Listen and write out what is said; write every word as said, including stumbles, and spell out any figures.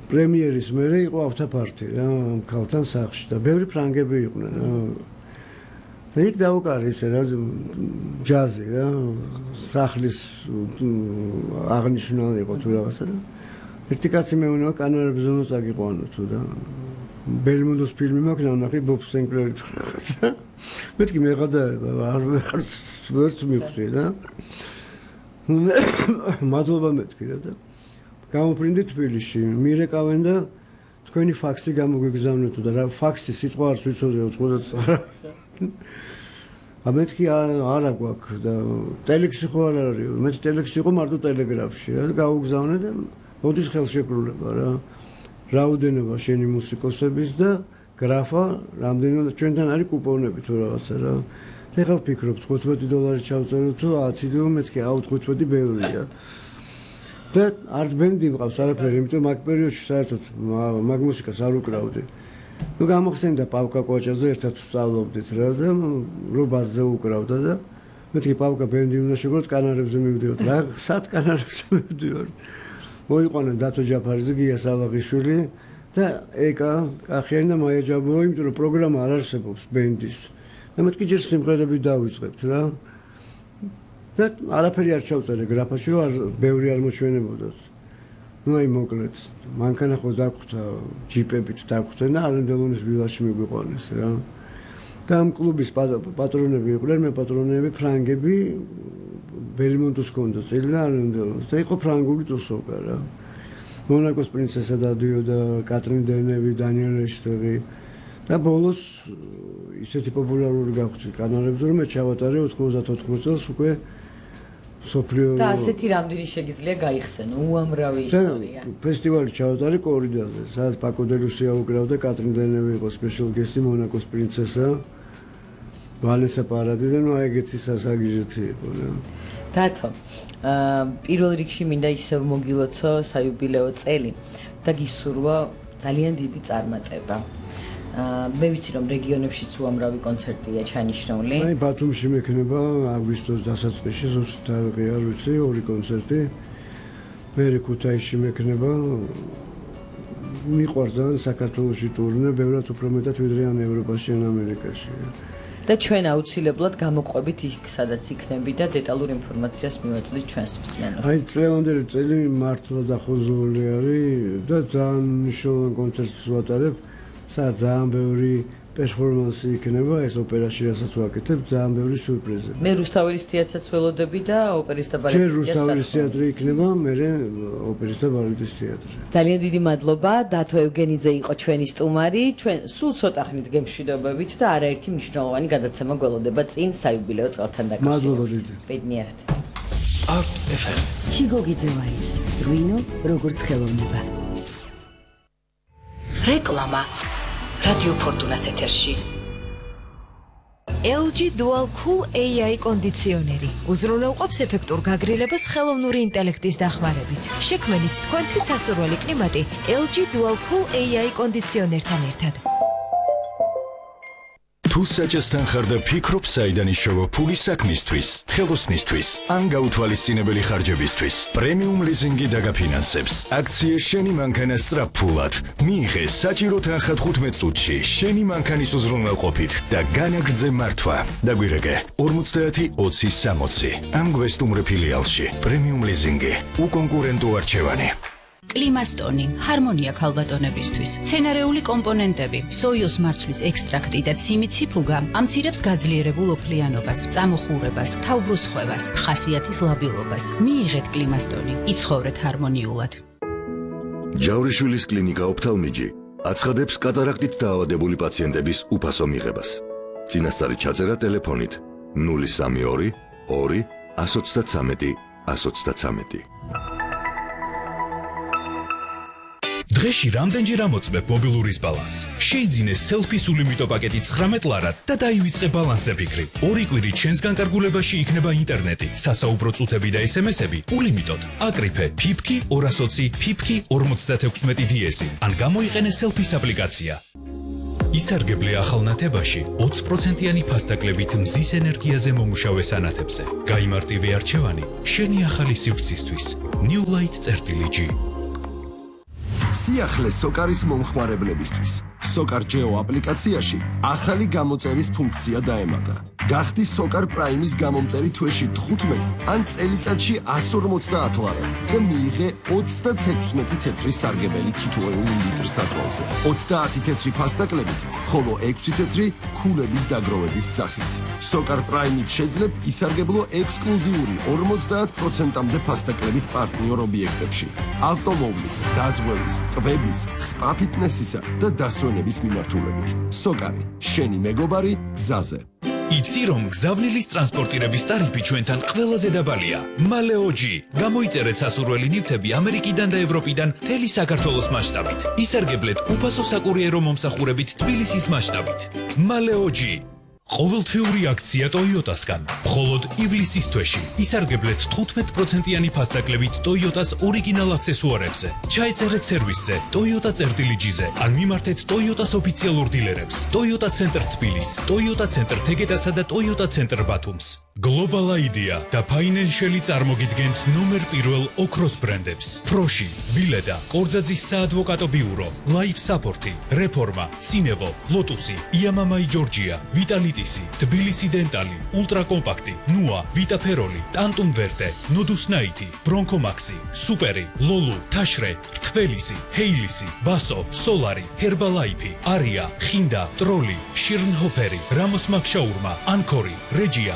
პრემიერის მერე იყო ავტოფარტი რა ქალთან სახლში და ბევრი ფრანგები იყვნენ რა და იქ დაუკარი ისე რა ჯაზი რა სახლის აღნიშნული იყო თუ რაღაცა და ერთი კაცი მეუბნება კანონებზე უნდა წაგიყვანო თუ და ბელმონდოს ფილმი მაქვს ნახე ბობ სენკლერი თუ რაღაცა მეთქი მეღადაება არ ვერც მიხვდი რა მადლობა მეთქი რა და გამოფრინდი თბილისში მირეკავენ და თქვენი ფაქსი გამოგვიგზავნეთ და რა ფაქსი სიტყვა არც ვიცოდი ოთხმოცდაათი ამეთქი არა გვაქვს და ტელექსი ხო არ არის მე ტელექსი იყო მარტო ტელეგრაფში რა გავუგზავნე და მოდის ხელშეკრულება რა რაოდენობა შენი მუსიკოსების და გრაფა რამდენიმე ჩვენთან არის კუპონები თუ რაღაცა რა და ეხლა ვფიქრობ თხუთმეტი დოლარი ჩავწერო თუ ათი და მეთქი აუ თხუთმეტი ბევრია და არც ბენდი მყავს არაფერი იმიტომ მაგ პერიოდში საერთოდ მაგ მუსიკას არ უკრავდი ნუ გამახსენდა პავკა კოჭაძე ერთად ვსწავლობდით რა და რობაზზე უკრავდა და მეთქი პავკა ბენდი უნდა შეგროთ კანარებზე მივდივართ რა სად კანარებზე მივდივართ მოიყვანა დათო ჯაფარიძე გია სალაღიშვილი და ეკა კახიანი და მაია ჯაბოვა იმიტომ რომ პროგრამა არ არსებობს ბენდის და მეთქი ჯერ სიმღერები დავიწყებთ რა და არაფერი არ ჩავწერე გრაფაში რომ ბევრი არ მოჩვენებოდათ ну აი მოკლედ მანქანა ხო დაგხვდა ჯიპებით დაგხვდნენ და ალენდელონის ვილაში მიგვიყვანეს რა და ამ კლუბის პატრონები იყვნენ მე პატრონები ფრანგები ბელმონდოს კონდო წელი და ალენდელონის და იყო ფრანგული ტუსოვკა რა მონაკოს პრინცესა და დიო და კატრინ დენევი დანიელ რეშტერი და ბოლოს ისეთი პოპულარული გავხდი კანონებზე რომ მე ჩავატარე ოთხმოცდაოთხ წელს უკვე სოფლიო და ასეთი რამდენი შეგიძლია გაიხსენო უამრავი ისტორია ფესტივალი ჩავატარე კორიდორზე სადაც პაკო დე ლუსია უკრავდა კატრინ დენევი იყო სპეციალ გესტი მონაკოს პრინცესა ვალესა პარადი და ნუ აი ეგეთი სასაგიჟეთი იყო რა დათო პირველ რიგში მინდა ისევ მოგილოცო საიუბილეო წელი და გისურვა ძალიან დიდი წარმატება მე ვიცი რომ რეგიონებშიც უამრავი კონცერტია ჩანიშნული. აი ბათუმში მექნება აგვისტოს დასაწყისში ზუსტად არ ვიცი ორი კონცერტი. მე ქუთაისში მექნება მიყვარდა საქართველოში ტურნე, ბევრად უფრო მეტად ვიდრე ან ევროპაში ან ამერიკაში. და ჩვენ აუცილებლად გამოყვებით იქ სადაც იქნები და დეტალურ ინფორმაციას მივაწვდით ჩვენს მსმენელს. აი წლევანდელი წელი მართლა დახოზული არის და ძალიან მნიშვნელოვან კონცერტს ვატარებ. სადაც ძალიან ბევრი პერფორმანსი იქნება ეს ოპერაში რასაც ვაკეთებ ძალიან ბევრი სიურპრიზი. მე რუსთაველის თეატრსაც ველოდები და ოპერის და ბალეტის თეატრი. ჯერ რუსთაველის თეატრი იქნება, მერე ოპერის და ბალეტის თეატრი. ძალიან დიდი მადლობა, დათო ევგენიძე იყო ჩვენი სტუმარი. ჩვენ სულ ცოტა ხნით გემშვიდობებით და არაერთი მნიშვნელოვანი გადაცემა გველოდება წინ საიუბილეო წელთან დაკავშირებით. მადლობა დიდი. ბედნიერად. არტ ეფ ემ. ჩიგოგიძევაის რუინო როგორც ხელოვნება. რეკლამა რადიო ფორტუნას ეთერში. ელ ჯი Dual Cool ეი აი კონდიციონერი უზრუნველყოფს ეფექტურ გაგრილებას ხელოვნური ინტელექტის დახმარებით. შექმნით თქვენთვის სასურველი კლიმატი ელ ჯი Dual Cool ეი აი კონდიციონერთან ერთად. თუ საჭესთან ხარ და ფიქრობ საიდან იშოვა ფული საქმისთვის, ხელოსნისთვის, ან გაუთვალისწინებელი ხარჯებისთვის, პრემიუმ ლიზინგი დაგაფინანსებს. აქცია შენი მანქანა სწრაფფულად. მიიღე საჭირო თანხა თხუთმეტ წუთში შენი მანქანის უზრუნველყოფით და განაგრძე მართვა. დაგვირეკე ორმოცდაათი ოცი სამოცი. ამ გვესტუმრე ფილიალში პრემიუმ ლიზინგი უკონკურენტო არჩევანი. კლიმასტონი, ჰარმონია ქალბატონებისთვის, სცენარეული კომპონენტები, სოიოს მარცვლის ექსტრაქტი და ციმიციფუგა ამცირებს გაძლიერებულ ოფლიანობას, წამოხურებას, თავბრუსხვევას, ხასიათის ლაბილობას. მიიღეთ კლიმასტონი, იცხოვრეთ ჰარმონიულად. ჯავრიშვილის კლინიკა ოფთალმიჯი აცხადებს კატარაქტით დაავადებული პაციენტების უფასო მიღებას. წინასწარი ჩაწერა ტელეფონით ნული სამი ორი ორი ათს ოცდათრამეტი ათს ოცდათრამეტი. დღეში რამდენჯერ ამოწმებ მობილურის ბალანსს? შეიძინე სელფის ულიმიტო პაკეტი ცხრამეტ ლარად და დაივიწყე ბალანსზე ფიქრი. ორი კვირით შენს განკარგულებაში იქნება ინტერნეტი, სასაუბრო წუთები და ესემესები ულიმიტოდ. აკრიფე ფიფკი ორას ოცი ფიფკი ორმოცდათექვსმეტი დი-ესი ან გამოიყენე სელფის აპლიკაცია. ისარგებლე ახალ ნათებაში ოცი პროცენტიანი ფასდაკლებით მზის ენერგიაზე მომუშავე სანათებზე. გაიმარტივე არჩევანი შენი ახალი სივრცისთვის. New Light წერტილი G. სიახლე სოკარის მომხმარებლებისთვის. Sokar Geo აპლიკაციაში ახალი გამოწერის ფუნქცია დაემატა. გახდი Sokar Prime-ის გამომწერი თვეში თხუთმეტ ან წელიწადში εκατს ორმოცდაათ ლარი და მიიღე ოცდათექვსმეტი თეთრი სარგებელი თითოეული ლიტრის საწვავზე. ოცდაათი თეთრი ფასტაკლებით, ხოლო ექვსი თეთრი ქულების დაგროვების სახით. Sokar Prime-ით შეძლებ ისარგებლო ექსკლუზიური ორმოცდაათ პროცენტამდე ფასტაკლებით პარტნიორ ობიექტებში. ავტომობილის, დაზღვევის, კვების, სპა ფიტნესისა და დასვენების მიმართულებით. Sokar, შენი მეგობარი გზაზე. იცი რომ გზავნილის ტრანსპორტირების ტარიფი ჩვენთან ყველაზე დაბალია. მალეოჯი. გამოიწერეთ სასურველი ნივთები ამერიკიდან და ევროპიდან მთელი საქართველოს მასშტაბით. ისარგებლეთ უფასო საკურიერო მომსახურებით თბილისის მასშტაბით. მალეოჯი. ყოველთვიური აქცია Toyota-სგან. მხოლოდ ივლისის თვეში ისარგებლეთ თხუთმეტ პროცენტიანი ფასტაკლებით Toyota-ს ორიგინალ აქსესუარებზე. ჩაეწერეთ სერვისზე Toyota წერტილიჯიზე ან მიმართეთ Toyota-ს ოფიციალურ დილერებს. Toyota Center თბილის, Toyota Center თეგეტასა და Toyota Center ბათუმს. Global Idea და Financial-ი წარმოგიდგენთ ნომერ პირველ ოქროს ბრენდებს. Proshi, Vileda, კორძაძის საადვოკატო ბიურო, Life Support-ი, Reforma, Cinevo, Lotus-ი, Yamamai Georgia, Vitalitisi, Tbilisi Dentali, Ultra Compact-ი, Nua, Vita Feroli, Tantum Verde, Nodus Night-ი, Bronco Maxi, Superi, Lolu, Tashre, Rtvelisi, Heilisi, Baso, Solari, Herbalife-ი, Aria, Khinda, Trolli, Schirnhoferi, Ramos Magshaurma, Ancori, Regia,